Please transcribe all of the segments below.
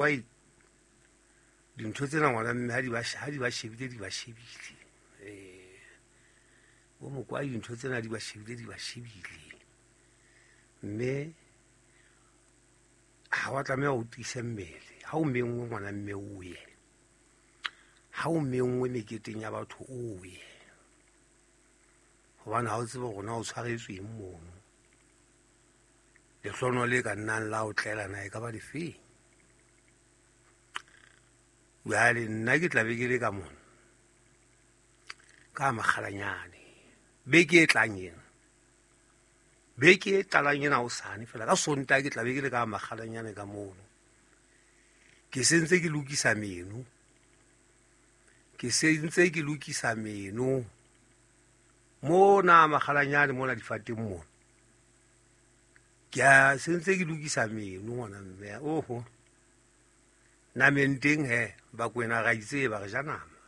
Wai dintho tsena ngwana mme ha di ba ha di ba shebile di ba shebile. Eh bo mokwai dintho tsena di ba shebile di ba shebile. Mme ha wa tlameha o tiise mmele. Ha o menngwe ngwana mme o ye. Ha o menngwe meketeng ya batho o ye. Hobane ha o tsebe hore na o tshwaretswe eng mono. Lehlono le ka nnang la o tlela na e ka ba lefeng. Jwale nna ke tla be ke le ka mona ka makgalanyane beke e tlang ena, beke e qalang ena hosane fela ka Sontaha ke tla be ke le ka makgalanyane ka mono. Ke sentse ke lokisa meno, ke sentse ke lokisa meno mona makgalanyane mona difateng mona. Ke a sentse ke lokisa meno ngwana mme oho. Nameng teng he Bakwena ra itseba re ja nama.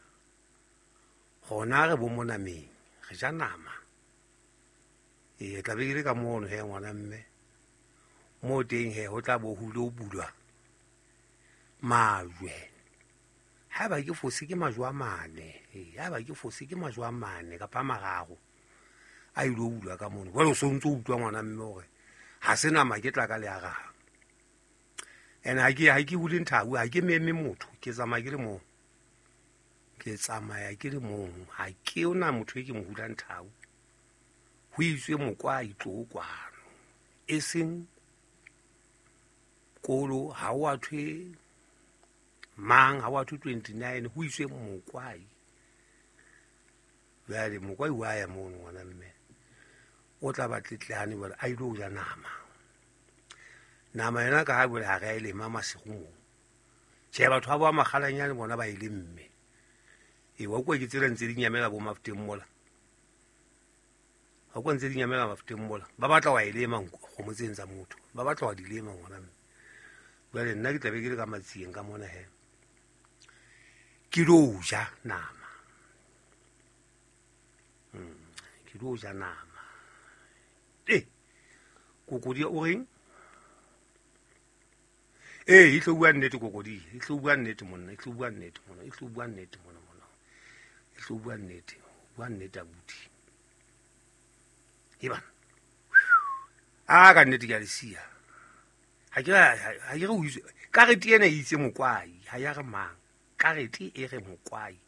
Gona re bo mo nameng re ja nama. Ee tla be ke le ka mono he ngwana mme. Mo teng he ho tla bo ho lo bulwa majwe. Haeba ke fose ke majwe a mane. Ee haeba ke fose ke majwe a mane kapa a mararo a ilo bulwa ka mono. Jwale o so ntso utlwa ngwana mme hore ha se nama ke tla ka le arang. Ene ha ke hule nthabu, ha ke meme motho, ke tsamaya ke le mong. Ke tsamaya ke le mong, ha ke ona motho e ke mo hulang thabu. Ho itswe mokwai tlo kwano. E seng kolo ha o a thwe mang, ha o a thwe 29, ho itswe mokwai. Jwale mokwai wa ya mono ngwana mme. O tla ba tletlane jwale a ilo ja nama. Nama yona ka ha jwale ha re a e lema masigo moo. Tjhe, batho ba bo makgalanyane bona ba e lemme. Ee, wa utlwa ke tsela ntse di nyamela bo mafuteng mola. Wa utlwa ntse di nyamela mafuteng mola. Ba batla wa e lema kgomo tseng tsa motho. Ba batla wa di lema ngwana mme. Jwale nna ke tla be ke le ka matsieng ka mona he. Ke lo ja nama. Ke lo ja nama. Eh, kokodi o reng? Ee, e tlo bua nnete kokodi, e tlo bua nnete monna, e tlo bua nnete monna, e tlo bua nnete monna monna. E tlo bua nnete, bua nnete abuti. E bana. A ka nnete ke a le siya. Ha ke ha ke re o itse karete ena e itse mokwai, ha ya re mang. Karete e re mokwai.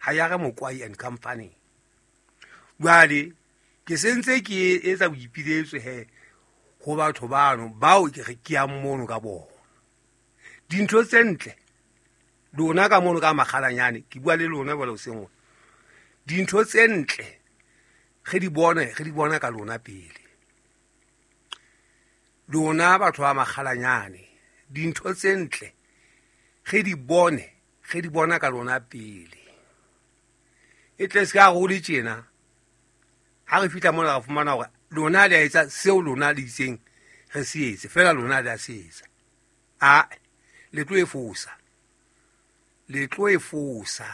Ha ya re mokwai and company. Jwale ke sentse ke etsa boipiletso he ho batho bano bao ke re ke yang mono ka bona. Dintho tse ntle lona ka mono ka makgalanyane, ke bua le lona jwale hoseng hona. Dintho tse ntle re di bone, re di bona ka lona pele. Lona batho ba makgalanyane, dintho tse ntle re di bone, re di bona ka lona pele. E tle se ka re ho le tjena, ha re fihla mona ra fumana hore lona le a etsa seo lona le itseng re se etse, fela lona le a se etsa. A le tlo e fosa, le tlo e fosa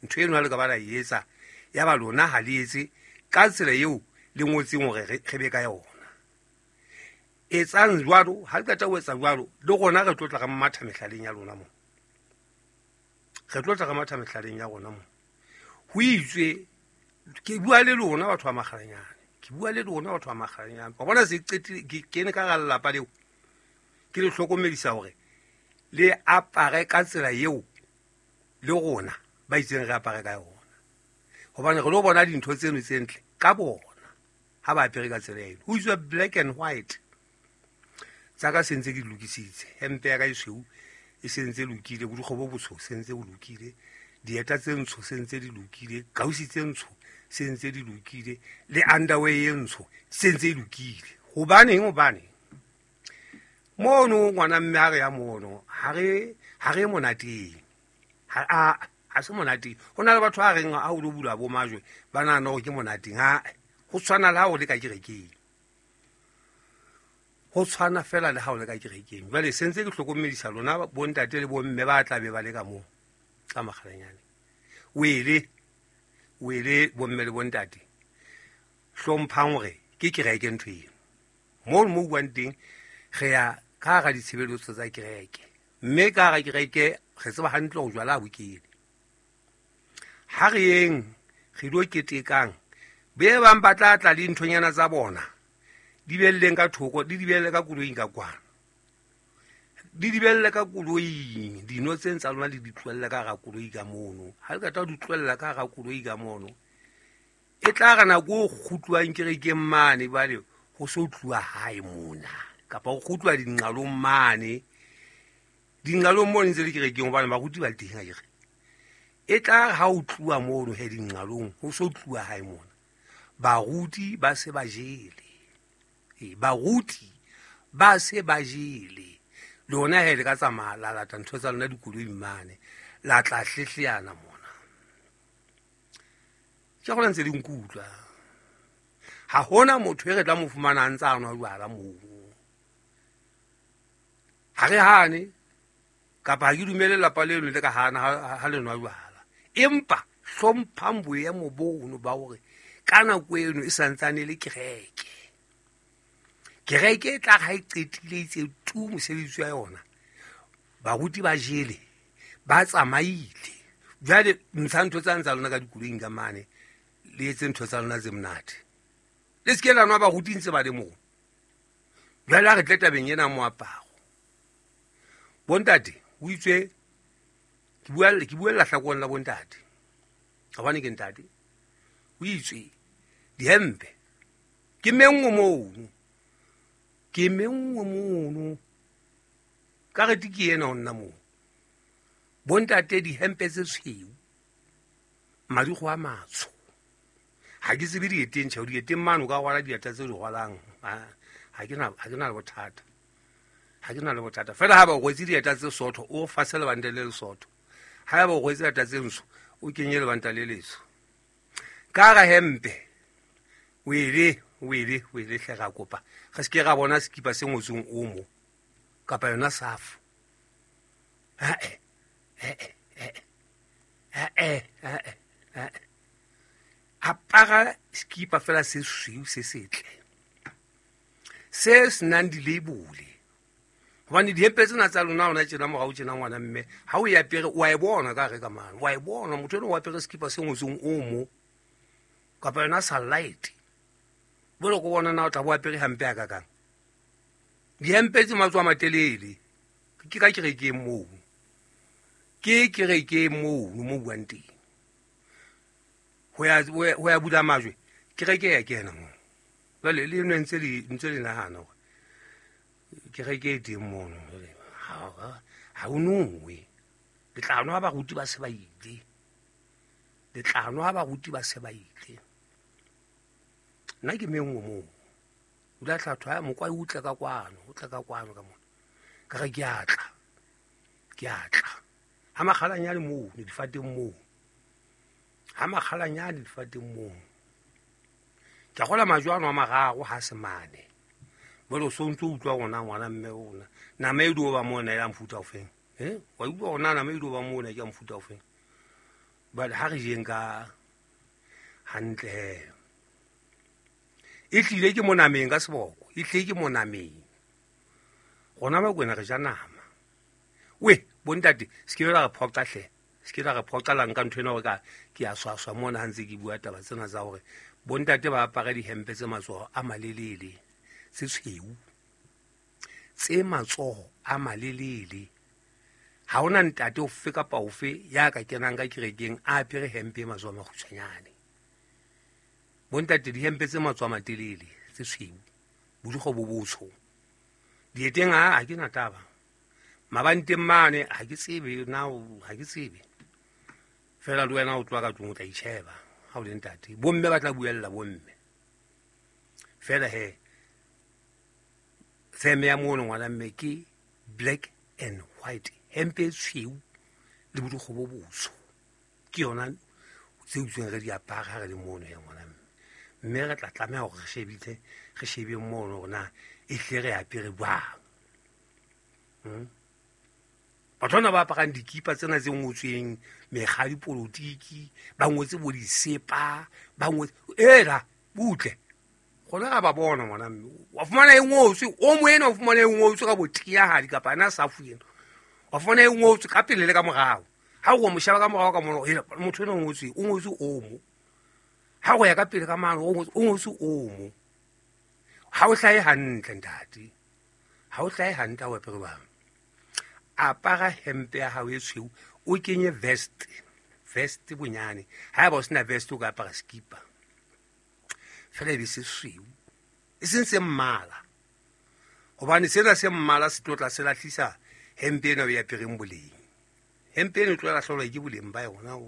ntho eno ha le ka ba la e etsa, ya ba lona ha le etse ka tsela eo le ngotseng hore re be ka yona. Etsang jwalo, ha le qeta ho etsa jwalo, le rona re tlo tla re matha mehlaleng ya lona moo. Re tlo tla re matha mehlaleng ya rona moo. Ho itswe, ke bua le lona batho ba makgalanyane, ke bua le lona batho ba makgalanyane. Wa bona se qetile, ke kene ka hara lelapa leo, ke le hlokomedisa hore le apare ka tsela eo le rona ba itseng re apare ka yona. Hobane re lo bona dintho tseno tse ntle ka bona ha ba apere ka tsela eno. Ho itswe black and white. Tsa ka se ntse ke di lokisitse. Hempe ya ka e tshweu e se ntse lokile, borukgwe bo botsho se ntse bo lokile, dieta tse ntsho se ntse di lokile, kausi tse ntsho se ntse di lokile, le underwear e ntsho se ntse e lokile. Hobaneng? Hobane mono ngwana mme ha re ya mono, ha re monateng. Ha se monateng. Ho na le batho ba reng ha o lo bula bo majwe, ba nahana hore ke monateng. Ha, ho tshwana le ha o le ka kerekeng. Ho tshwana fela le ha o le ka kerekeng. Jwale se ntse ke hlokomedisa lona bontate le bomme ba tla be ba le ka moo ka makgalanyane. Wele, wele bomme le bontate. Hlomphang hore ke kereke ntho eno. Moo mo buang teng re ya ka hara ditshebeletso tsa kereke. Mme ka hara kereke re tseba hantle hore jwala ha bo kene. Ha re yeng re ilo ketekang, be bang ba tla tla le nthonyana tsa bona, di behelleng ka thoko, di di behelle ka koloing ka kwana. Di di behelle ka koloing, dino tseng tsa lona le di tlohelle ka hara koloi ka mono. Ha le qeta ho di tlohella ka hara koloi ka mono, e tla re nako e kgutluwang kerekeng mane, jwale ho so tluwa hae mona, kapa ho kgutluwa dinqalong mane. Dinqalong mono ntse le kerekeng hobane baruti ba teng akere. E tla re ha o tluwa mono he dinqalong, ho so tluwa hae mona, baruti ba se ba jele. Baruti ba se ba jele. Lona he le ka tsamaya la lata ntho tsa lona dikoloing mane, la tla hlehleana mona. Ke gona ntse le nkutlwa. Ha hona motho e re tla mo fumana a ntse a nwa jwala moo. Ha re hane, kapa ha ke dumele lelapa leno le ka hana ha le nwa jwala. Empa hlomphang boemo bono ba hore ka nako eno e santsane e le kereke. Kereke e tla re ha e qetile itse tu mosebetsi wa yona, baruti ba jele, ba tsamaile. Jwale ntsha ntho tsa ntsa lona ka dikoloing ka mane, le etse ntho tsa lona tse monate. Le se ke la nwa baruti ntse ba le moo. Jwale ha re tle tabeng ena moaparo. Bontate, o itswe, ke buella hlakoreng la bontate. Hobane ke ntate. O itswe, dihempe, ke menngwe mono. Ke menngwe mono. Karete ke ena ho nna moo. Bontate dihempe tse tshweu, madikgo a matsho. Ha ke tsebe dieteng, tjhe, dieteng mane o ka rwala dieta tse di rwalang. Ha ke na le bothata. Ha ke na le bothata. Feela ha ba o rwetse dieta tse sootho, o fase lebanta le lesootho. Ha ba o rwetse dieta tse ntsho, o kenye lebanta le letsho. Ka hara hempe, wele, wele, wele hle ra kopa. Re se ke ra bona sekipa se ngotsweng omo, kapa yona safo. Ha-eh, ha-eh, ha-eh, ha-eh, ha-eh, ha-eh. Apara sekipa fela se sweu se setle, se senang dilabole. Hobane dihempe tsena tsa lona hona tjena morao tjena ngwana mme, ha o e apere o a e bona ka hare ka mane, o a e bona motho enwa o apere sekipa se ngotsweng omo, kapa yona sunlight. Jwale ko bona na o tla bo apere hampe ha kakang. Dihempe tse matsoho a matelele, ke ka kerekeng moo. Ke kerekeng moo mo buang teng. Ho ya bula majwe, kereke ya kena moo. Jwale le nwe ntse le nahana hore kereke e teng mono. Jwale ha o nowe. Le tla nwa baruti ba se ba ile. Le tla nwa baruti ba se ba ile. Nna ke menngwe moo. O la tla thwa, mokwai o tle ka kwano, o tle ka kwano ka mona. Ka re ke a tla. Ke a tla. Ha makgalanyane moo, ne difateng moo. Ha makgalanyane difateng moo. Ke a kgolwa majwe ano a mararo ha se mane. Jwale o so ntso utlwa rona ngwana mme rona. Nama e dio ba mona ya mofuta ofeng. Wa utlwa rona nama e dio ba mona ke ya mofuta ofeng. Jwale ha re jeng ka hantle he. E tlile ke monameng ka seboko, e tlile ke monameng. Rona ba kwena re ja nama. We, bontate, se ke la re phoqa hle. Se ke la re phoqa la nka ntho ena hore ka ke a swaswa mona ha ntse ke bua taba tsena tsa hore bontate ba apare dihempe tse matsoho a malelele, tse tshweu. Tse matsoho a malelele. Ha hona ntate ofe kapa ofe ya ka kenang ka kerekeng a apere hempe e matsoho a makgutshwanyane. Bontate dihempe tse matsoho a matelele, tse tshweu, bodikgo bo botsho. Dieteng ha ke na taba. Mabanteng mane ha ke tsebe na, ha ke tsebe. Feela le wena o tloha ka tlung o tla itjheba ha o le ntate. Bomme ba tla buella bomme. Feela he, theme ya mono ngwana mme ke black and white, hempe e tshweu le bodikgo bo botsho. Ke yona tse utsweng re di apara ha re le mono ya ngwana mme. Mme re tla tlameha hore re shebile, re shebe mono hore na e hle re apere jwang. Batho bana ba aparang dikipa tsena tse ngotsweng mekga ya dipolotiki, ba ngotse bo disepa, ba ngotse, ela, butle. Rona ra ba bona ngwana mme. Wa fumana e ngotswe, o mo ena o fumana e ngotswe ka botiyahadi kapa yena safu ena. Wa fumana e ngotswe ka pele le ka morao. Ha o mo sheba ka morao ka mona, hela motho ena o ngotswe omo. Ha o ya ka pele ka mane o ngotswe omo. Ha o hlahe hantle ntate. Ha o hlahe hantle o apere bang. Apara hempe ya hao e tshweu, o kenye vest. Vest bonyane. Haeba o sena vest o ka apara skipa. Fela e be se sweu. E seng se mmala. Hobane sena se mmala se tlo tla se lahlisa hempe ena o e apereng boleng. Hempe ena e tlo lahlelwa ke boleng ba yona.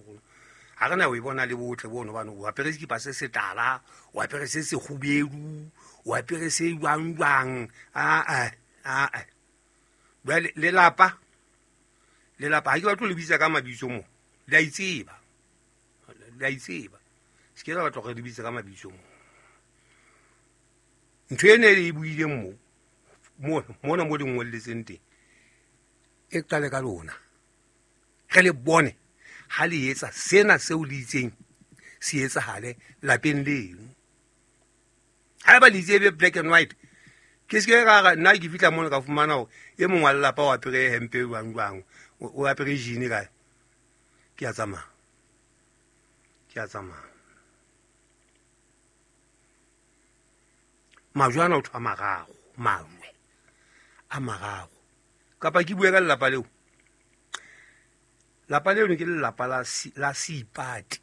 Ha re na o e bona le botle bono hobane o apere sekipa se setala, o apere se sekgubedu, o apere se jwang jwang. Aa aa. Jwale lelapa ha ke batle le bitsa ka mabitso mo. Le a itseba. Le a itseba. Se ke la batla hore le bitse ka mabitso mo. Ntho ena e buileng mo mona mo le ngolletseng teng e qale ka lona. Re le bone ha le etsa sena seo le itseng se etsahale lapeng leno. Haeba le itse be black and white, ke se ke ra re nna ke fihla mona ka fumana hore e mong wa lelapa o apere hempe jwang jwang, o apere jean kae. Ke a tsamaya. Ke a tsamaya. Majwe ana o thwa mararo, majwe a mararo. Kapa ke bue ka lelapa leo. Lapa leo ke lelapa la Seipati.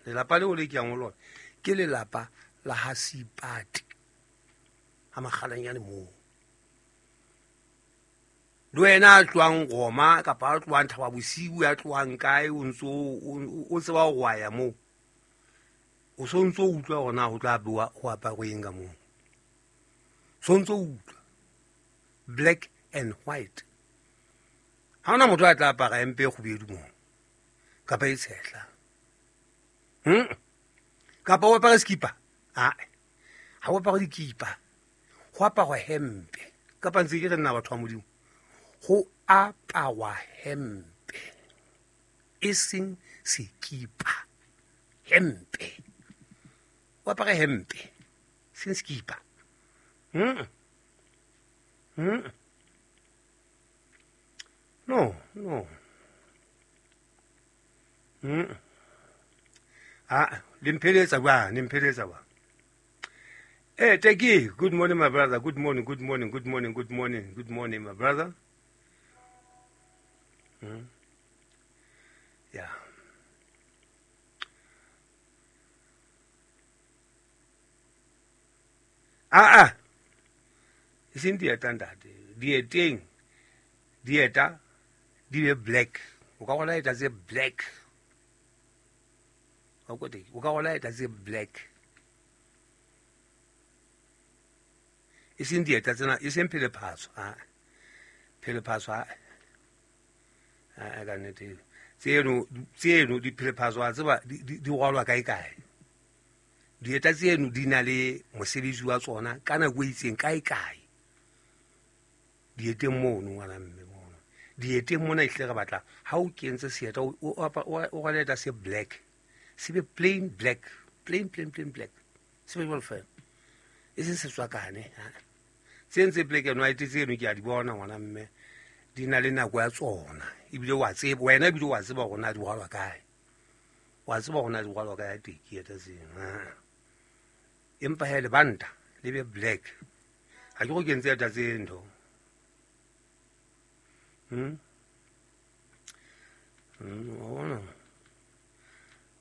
Lelapa leo le ke yang ho lona ke lelapa la ha Seipati. Ha Makgalanyane moo. Le wena a tlohang Roma kapa a tlohang Thaba Bosiu, a tlohang kae, o ntso o tseba hore wa ya moo. O so ntso utlwa hore na ho tla bewa ho aparwe eng ka moo. So ntso utlwa black and white. Ha hona motho a tla apara hempe e kgubedu moo kapa e tshehla. Kapa o apare skipa. Ha o apare dikipa. Ho aparwa hempe. Kapa ntse ke re nna batho ba Modimo. Ho aparwa hempe. E seng sekipa. Hempe. O apare hempe. Seng sekipa. No, no. Ah, le mpheletsa jwang, le mpheletsa jwang. Eh, Teki, good morning my brother. Good morning, good morning, good morning, good morning, good morning my brother. Yeah. Ah ah. E seng dieta ntate. Dieteng. Dieta di be black. O ka rwala eta tse black. O ka rwala eta tse black. E seng dieta tsena, e seng phelephatso. Ha. Phelephatso ha. Ha ka nnete. Tseno di phelephatso a tseba di rwalwa kae kae. Dieta tseno di na le mosebetsi wa tsona ka nako e itseng kae kae. Dieteng mono ngwana mme mono. Dieteng mona ehlile re batla ha o kentse seeta o rwale eta se black. Se be plain black. Plain plain plain black. Se be jwalo fela. E seng setswakane. Tse ntse black and white tseno ke a di bona ngwana mme. Di na le nako ya tsona. Ebile wa tseba wena, ebile wa tseba hore na di rwalwa kae. Wa tseba hore na di rwalwa kae teki eta tseno. Empa he lebanta le be black. Ha ke go kentse eta tse ntho.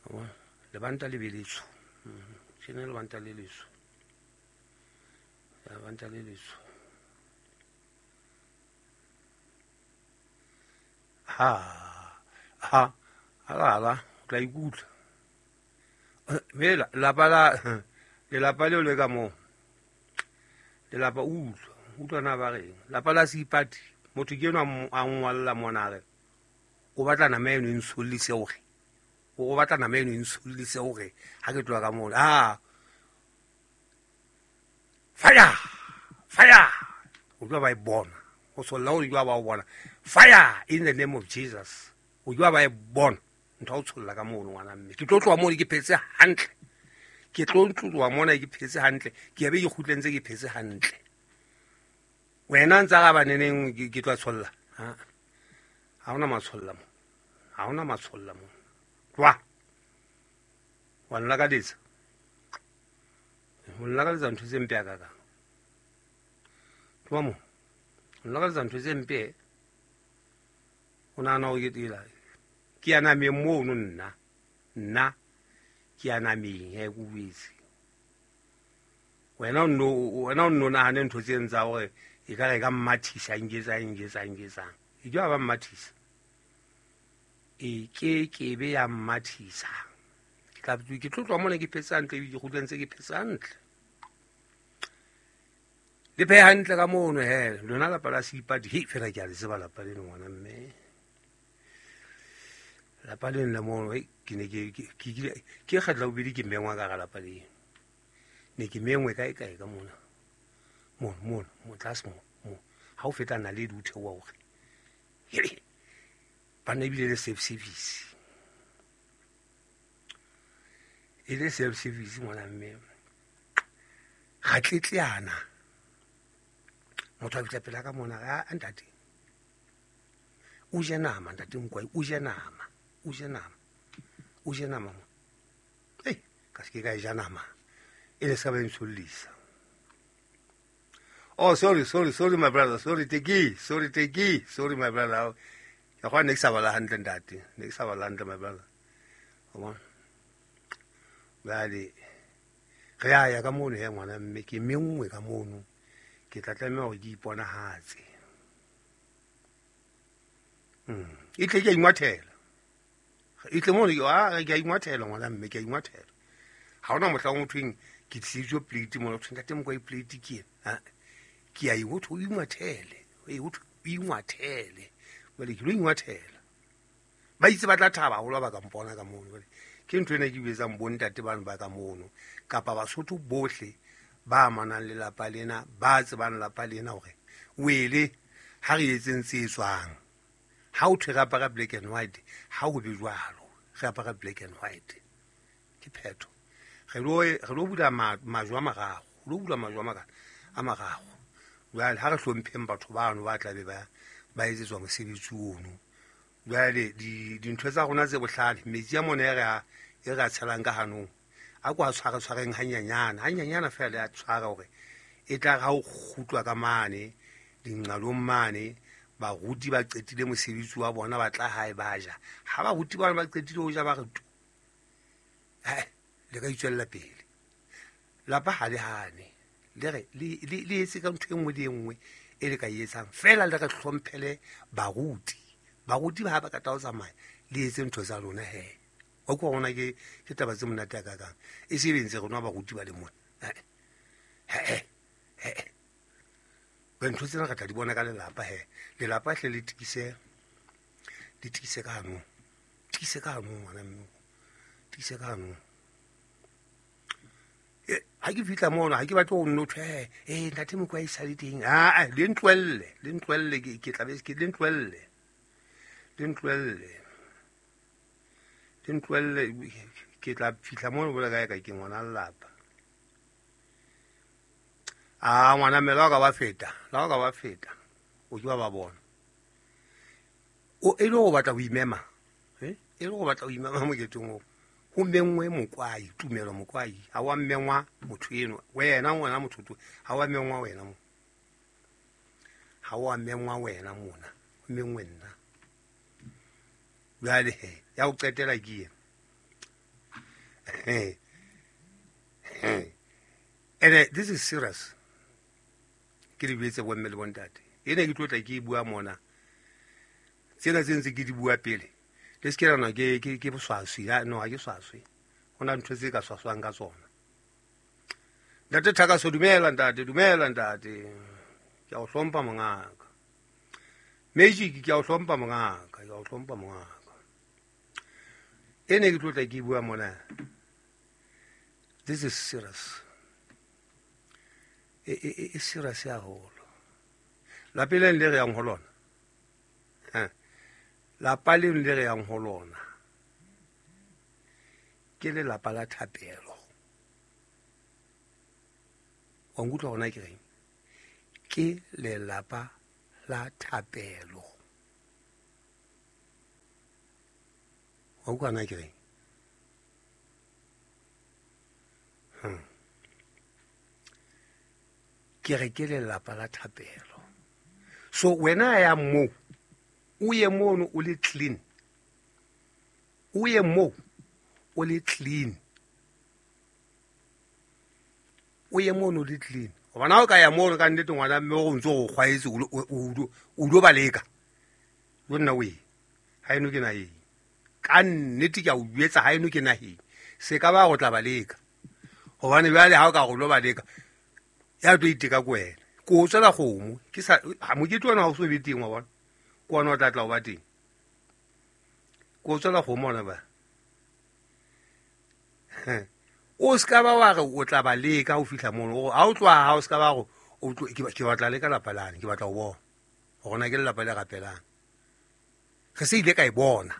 Wa lebanta le be letsho. Tjena lebanta le letsho. Lebanta le letsho. Ha ha ala o tla ikutlwa. Mela lapa la lelapa leo le ka moo. Lelapa utlwa, utlwa na ba reng. Lapa la Seipati, motho ke enwa a ngwalla mona re o batla nama eno e ntshollise hore. O batla nama eno e ntshollise hore ha ke tloha ka mona. Ah. Fire! Fire! O tloha ba e bona. O solla o tloha ba o bona. Fire in the name of Jesus. O tloha ba e bona. Ntho o tsholla ka mono ngwana mme. Ke tlo tloha mono ke phetse hantle. Ke tlo tloha mona ke phetse hantle. Ke be ke kgutlentse ke phetse hantle. Wena ntsa ga ba neneng ke tlo tsholla. Ha. Ha hona matsholla mo, ha hona matsholla mo. Tloha, wa nlakaletsa, o nlakaletsa ntho tse mpe hakakang. Tloha mo, o nlakaletsa ntho tse mpe. O nahana hore ke tsela ke ya nameng mono nna, nna ke ya nameng he, ke o jwetse. Wena o nno nahane ntho tse tsa hore e ka re ka mmathisa, nketsang, nketsang, nketsang. E ke ba mmathisa, e ke ke be ya mmathisa. Ke tla ke tlo tloha mona ke phetse hantle, ke kgutle ntse ke phetse hantle. Le phehe hantle ka mono he, lona lapa la Seipati. Hei, fela ke a le tseba lapa leno ngwana mme. Lapa leno la mono, hei, ke ne ke kgetla bobedi ke mengwa ka hara lapa leno. Ne ke mengwe kae kae ka mona. Mono, mono, mo tlase mo, mo. Ha o feta naledi o theoha hore. Hei, banna ebile le self service. E le self service ngwana mme. Ga tletleana. Motho a fihla pela ka mona, a ntate. O je nama ntate Mokwai, o je nama, o je nama. O je nama mo. Ei, ka se ke ka e ja nama. E le se ka ba e ntshollisa. Oh, sorry, sorry, sorry my brother, sorry Teki, sorry Teki, sorry my brother. Ke gwa ne ke sa bala hantle ntate, ne ke sa bala hantle my brother. Wa bona? Jwale re a ya ka mono he ngwana mme, ke menngwe ka mono. Ke tla tlameha hore ke iponahatse. E tle ke a ingwathela. E tle mono, ke a ingwathela ngwana mme, ke a ingwathela. Ha hona mohlang ho thweng ke tlisitswe plate mona, ho thweng ntate Mokwai plate ke ena. Ha, ke a e ho thwe o ingwathele, e ho thwe o ingwathele. Jwale ke lo ingwathela. Ba itse ba tla thaba haholo ha ba ka mpona ka mono. Jwale ke ntho ena ke etsang bontate bano ba ka mono, kapa Basotho bohle ba amanang le lapa lena, ba tsebang lapa lena hore wele ha re etseng tse etswang. Ha o thwe re apara black and white, ha ho be jwalo, re apara black and white. Ke phetho. Re lo bula majwe a mararo, re lo bula majwe a mararo. Jwale ha re hlompheng batho bano ba tla be ba etsetswa mosebetsi ono. Jwale dintho tsa rona tse bohlale, metsi a mona e re a tshelang ka hanong, a ko a tshware tshwareng hanyanyana, hanyanyana feela a tshwara hore e tla re ha o kgutlwa ka mane dinqalong mane, baruti ba qetile mosebetsi wa bona, ba tla hae ba ja. Ha baruti bana ba qetile ho ja, ba re tu, le ka itswella pele. Lapa ha le hane, le re le etse ka ntho e nngwe le e nngwe e le ka e etsang, feela le re hlomphele baruti. Baruti ba ha ba ka tla ho tsamaya, le etse ntho tsa lona he. Wa utlwa hore na ke taba tse monate hakakang. E se be ntse re nwa baruti ba le mona. He, he, he. Ntho tsena re tla di bona ka lelapa he. Lelapa hle le tiise, le tiise ka hanong. Tiise ka hanong ngwana mme. Tiise ka hanong. Ha ke fihla mono, ha ke batle ho nno thwe, ntate Mokwai e sale teng. Ah, le ntlohelle, le ntlohelle, ke tla be ke le ntlohelle. Le ntlohelle. Le ntlohelle, ke tla fihla mono bole kae ka ke ngwana lelapa. Ah, ngwana mme, la o ka ba feta, la o ka ba feta. O ke ba bona. O e le ho batla ho imema, eh? E le ho batla ho imema moketeng oo. Ho menngwe Mokwai, Tumelo Mokwai. Ha wa mengwa motho eno. Wena ngwana motho to, ha wa mengwa wena mo. Ha wa mengwa wena mona. Ho menngwe nna. Jwale he, ya ho qetela ke ena. And this is serious. Ke le jwetse bomme le bontate. Ena ke tlo tla ke e bua mona. Tsena tse ntse ke di bua pele. Le se ke la nwa ke boswaswi. Ha, no, ha ke swaswe. Ho na ntho tse ka swaswang ka tsona. Ntate Thakaso, dumela ntate, dumela ntate. Ke a o hlompha mongaka. Magic, ke a o hlompha mongaka, ke a o hlompha mongaka. Ene ke tlo tla ke bua mona. This is serious. E serious haholo. Lapeng le re yang ho lona. Lapa leno le re yang ho lona ke lelapa la thapelo. Wa nkutlwa hona ke reng? Ke lelapa la thapelo. Wa utlwa na ke reng? Ke re ke lelapa la thapelo. So wena ya moo, o ye mono o le clean. O ye moo o le clean. O ye mono o le clean. Gobane ha o ka ya mono ka nnete ngwana mme o ntse o kgwaetse o lo baleka. Yo nna o e. Ha eno ke naheng. Ka nnete ke a o jwetsa ha eno ke naheng. Se ka ba go tla baleka. Gobane bjale ha o ka go lo baleka ya tlo iteka ko wena. Ko o tswela kgomo. Ke sa ha mokete ona ha o so be teng wa bona. Ke ona o tla tla o ba teng. Ko o tswela kgomo ona ba. O se ka ba wa re o tla ba leka ho fihla mono. Ha o tloha ha o se ka ba go o tlo ke batla leka lapa lane, ke batla ho bona. Hore na ke lelapa le rapelang. Re se ile ka e bona.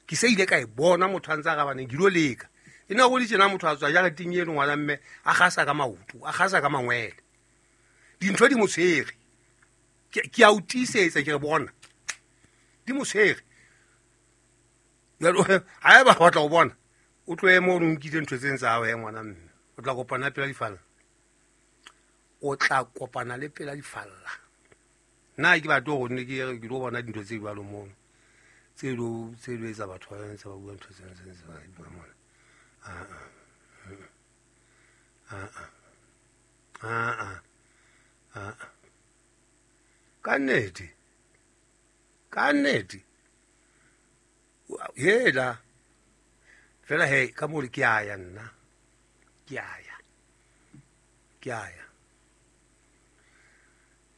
Ke se ile ka e bona motho a ntse a rabaneng ke lo leka. E na go le tjena motho a tswa jareteng eno ngwana mme a gasa ka maoto, a gasa ka mangwele. Dintho di mo tshwere. Ke a o tiisetsa ke re bona. Di mo tshwere. Jwale ha eba batla ho bona, o tlohe moo o nkile ntho tse tsa hao he ngwana mme. O tla kopana pela difalla. O tla kopana le pela difalla. Nna ke batle hore ne ke lo bona dintho tse jwalo mono. Tse lo etsa batho ba ntse ba bua ntho tse ntse ba bua mona. Ka nnete. Ka nnete. Hela. Fela he ka mo ke a ya nna. Ke a ya. Ke a ya.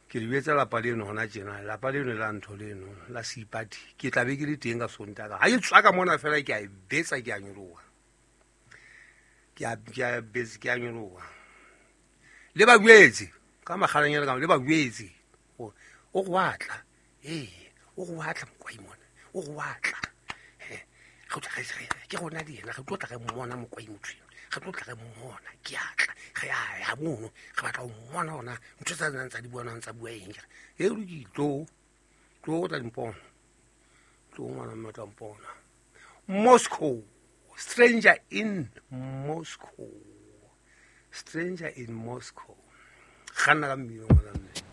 Ke le betsa lapa leno hona tjena, lapa leno la ntho leno la Seipati. Ke tla be ke le teng ka Sontaga. Ha ke tswa ka mona fela ke a e betsa ke a nyoloha. Ke a betsa ke a nyoloha. Le ba jwetse ka makgalanyana ka le ba jwetse. O go batla. Ee, o go batla mokwai mona. O go batla. Ke rona le yena re tlo tla re mmona mokwai motho eno. Re tlo tla re mmona ke a tla. Re a ya mono re batla ho mmona hona ntho tsa nang tsa di buang tsa bua eng ke re. E lokile tlo tlo tla mpona. Tlo ngwana mme tla mpona. Moscow, stranger in Moscow. Stranger in Moscow. Kganna ka mmino ngwana mme.